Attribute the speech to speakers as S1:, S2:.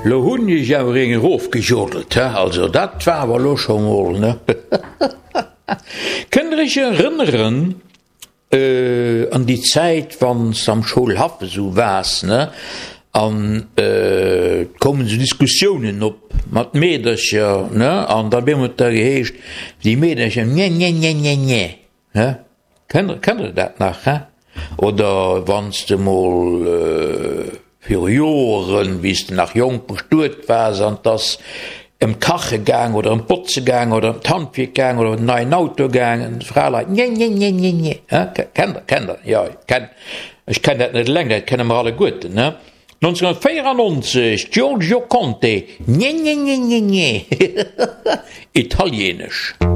S1: Lo hunn ech awer eng erofgejodelt, he, also dat war awer lo scho mol, ne? Kënnt der iech erënneren an déi Zäit, wann s de am Schoulhaff esou waars, ne, an et koumen esou Diskussiounen op mat Meedercher, ne, an da op eemol huet da geheescht, déi Meedercher, nje, nje, nje, nje, nje, ne? Kennt kennt der dat nach, he? Oder wann s de mol viru Joeren, wéi s de nach jonk bestuet waars an 't ass ëm d'Kache gaang oder ëm d'Botze gaang oder ëm d'Handwierk gaang oder ëm den neien Auto gaangen, d'Fraleit, Nje, nje, nje, nje, nje, he? Kennt der, kennt der? Jo, kenn, ech kenn dat net eleng, dat kenne mer alleguerten, he? 1994, Giorgio Conte, Nje, nje, nje, nje, nje, italienesch.